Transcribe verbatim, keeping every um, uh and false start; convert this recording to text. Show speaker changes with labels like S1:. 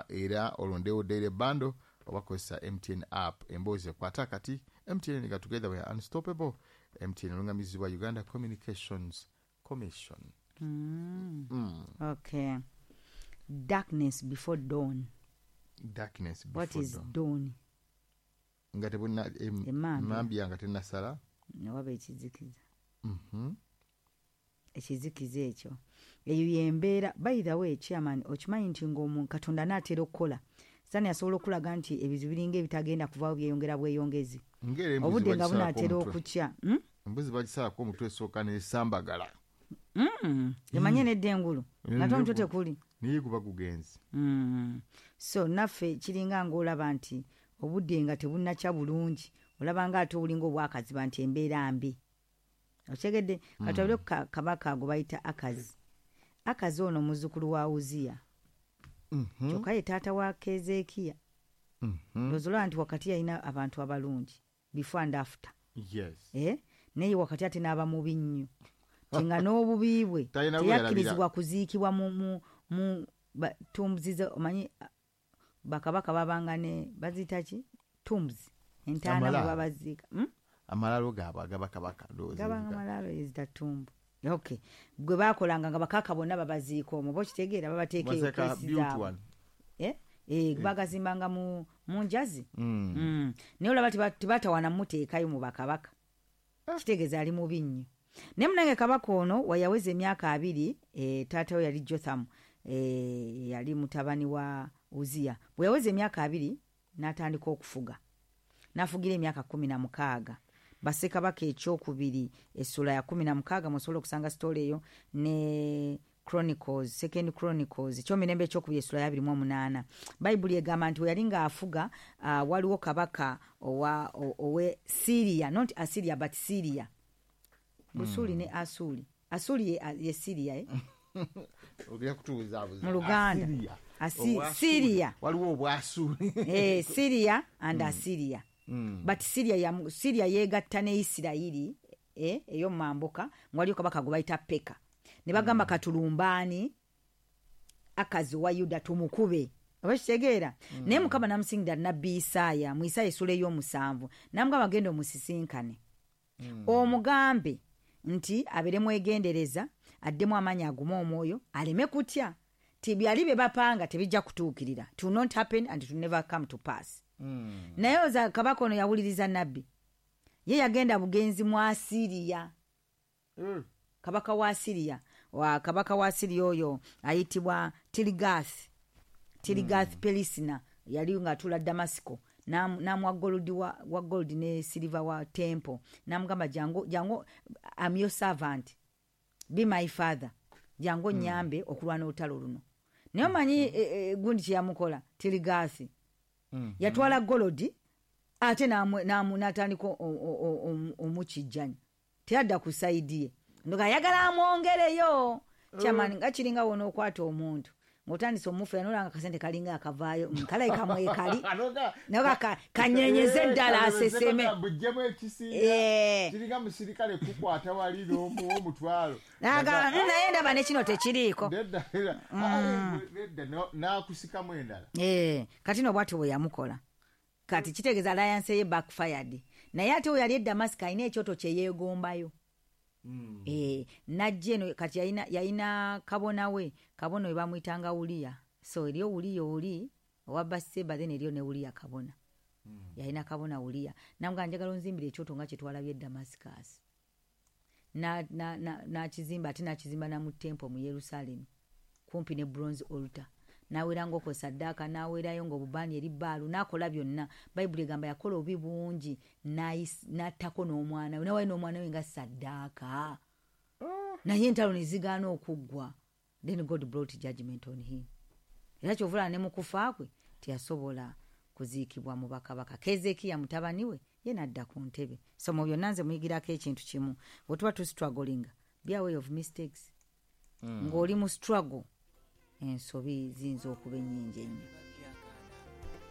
S1: Era olondewo daily bundle oba kozesa M T N app. Emboozi ekwata kati M T N nga together we are unstoppable. M T N olungamizibwa Uganda Communications Commission.
S2: Mm. Okay, darkness before dawn.
S1: Darkness
S2: What
S1: before
S2: is
S1: dawn.
S2: dawn?
S1: Nga tebuna em-
S2: Emmambya.
S1: Emmambya nga tenasala.
S2: Newaba ekizikiza.
S1: Mhm.
S2: Ekizikiza ekyo, eyo yembeera. By the way, chairman, okimanyi nti ngaomu Katonda naatera okukola, Sitaani asobola okulaga nti ebizibu biringa ebitagenda kuvaawo, byeyongera bweyongezi.
S1: Ng'era embuzi
S2: Obudde nga
S1: bagisalako
S2: bunaatera
S1: omutwe.
S2: okukya, Hmm?
S1: Embuzi bagisalako omutwe, esooka nesambagala.
S2: Mm. Emanye nedda engulu nga te omutwe tekuli.
S1: Naye guba gugenzi.
S2: Mm. So naffe kiringa ngaolaba nti obudde nga tebunnakya bulungi, olaba nga ate obulinga obwakaziba nti embeera mbi, okitegedde? Katwabire ku kabaka gwe bayita Akazi. Akazi ono muzzukulu wa Uziya,
S1: Mhm.
S2: kyokka ye taata wa Kezekiya.
S1: Mhm.
S2: Ndowooza olaba nti wakati yalina abantu abalungi before and after.
S1: Yes
S2: Eh? Naye wakati ate n'aba mubi nnyo ti nga n'obubi bwe
S1: Talina
S2: teyakkirizibwa kuziikibwa mu, mu, mu ba- tombs ze. Omanyi ah, bakabaka babanga ne baziyita ki, tombs, entaana mwe
S1: Amalaalo.
S2: babaziika, hmm?
S1: Amalalo gaabwe agabakabaka, ndowooza.
S2: Gabanga
S1: ebiga-
S2: malaalo, ezita tomb. Okay, gwe bakolanga nga bakaka bonna babaziika omwo, oba okitegeera, babateeka eyo
S1: Baseka
S2: kesi
S1: built
S2: zaabwe.
S1: one.
S2: Eh? Eh, bagazimbanga mu, mu njazi.
S1: Mm.
S2: Mm. Naye olaba teba- tebatawana muteekayo mu bakabaka, kitegeeza ali mubi nnyo. Naye munange kabaka ono wayaweza emyaka abiri, e, taata we yali Jothamu, e, yali mutabani wa Uziya. Bwe yaweza emyaka abiri n'atandika okufuga, n'afugira emyaka kumi na mukaaga. Bassekabaka ekyokubiri essula ya kumi na mukaaga musobola okusanga story eyo, ne Chronicles, Second Chronicles, ekyomirembe ekyokubiri essula ya abiri mu omunaana. Bayibuli egamba nti we yali ng'afuga, uh, waliwo kabaka owa o- owe Syria, not Assyria but Syria, Busuuli ne Asuli. Asuli ye, ye Syria, eh?
S1: Ogenda kutubuzabuza.
S2: Mu Luganda.
S1: Assyria.
S2: Asi-
S1: Obwasuuli.
S2: Syria.
S1: Waliwo obwasuuli.
S2: Eh, Syria and Assyria.
S1: Mm.
S2: But Syria ya Syria yegatta ne Isirayiri, eh, ey'omumambuka, nga waliyo kabaka gwe bayita Peka, ne bagamba, "Katulumbaani Akazi wa Yuda tumukube," oba kitegeera? Naye Mukama namusingira nabbi Isaaya mu Isaaya essula ey'omusanvu, namugamba, "Genda omusisinkane, omugambe nti abeere mwegendereza, addemu amaanyi, agume omwoyo, aleme kutya, ti byali bye bapanga tebijja kutuukirira. It will not happen and it will never come to pass."
S1: Mm.
S2: Naye oza kabaka ono yawuliriza nabbi, ye yagenda bugenzi mu Asiriya.
S1: Mm.
S2: Kabaka wa Asiriya, wa kabaka wa Asiriya oyo ayitibwa Tirigath Tirigath mm. Pelisina, yali ng'atuula Damasiko. N'amu- n'amuwa gold wa, wa gold ne silver wa temple, n'amugamba, "Jangu, jangu, am your servant, be my father, jangu onyambe okulwana olutalo luno." Naye omanyi e, e, gundi kyeyamukola Tirigathi?
S1: Mm.
S2: Yatwala gold ate n'amu- n'amu- n'atandika o- o- o- omu- omukijjanya, teyadda ku side ye, ndoga ayagala amwongereyo. Kyamani nga kiringa wonookwata omuntu ng'otandise omufera, nolanga akasente kalinga akavaayo, mm, kalayi kamwekali naye ka- kanyenyeze eddala aseseme.
S1: Bujjemu ekisinga.
S2: Eh.
S1: Kiringa musirikale kukwata wali n'omuwa omutwalo.
S2: Nagamba, "Mm, naye ndaba ne kino tekiriiko."
S1: Nedda, nedda. Ah, nedda, no- n'akusikamu endala.
S2: Eh, kati no bwatyo bwe yamukola. Kati kitegeeza alliance ye backfired. Naye ate we yali e Damasiko alina ekyoto kye yeegombayo.
S1: Mm.
S2: Eh, najja eno kati yalina yalina kabona we, kabona we bamuyitanga Uliya. So eriyo Uliya oli owa Baseba, then eriyo ne Uliya kabona. Yalina kabona Uliya, namugamba, "Njagala onzimbira ekyoto nga kye twalabye e Damascus." N'akizimba na, na, n'akizimba, ate n'akizimba na mu temple mu Yerusalemu kumpi ne bronze altar, n'aweeranga okwo saddaaka, n'aweerayo ng'obubaani eri Baalu, n'akola byonna. Bayibuli egamba yakola obubi bungi, n'ayis- n'attako n'omwana we, n'awaayo n'omwana we nga saddaaka, naye entalo ne zigaana okuggwa. Then God brought judgment on him. Era kyovulaba ne mu kufa kwe teyasobola kuziikibwa mu bakabaka. Kezekiya mutabani we ye nadda ku ntebe. So mu byonna nze muyigirako ekintu kimu: bwe tuba tustrugglinga, be aware of mistakes. Ng'oli mu struggle, ensobi ziyinza okuba ennyingi ennyo.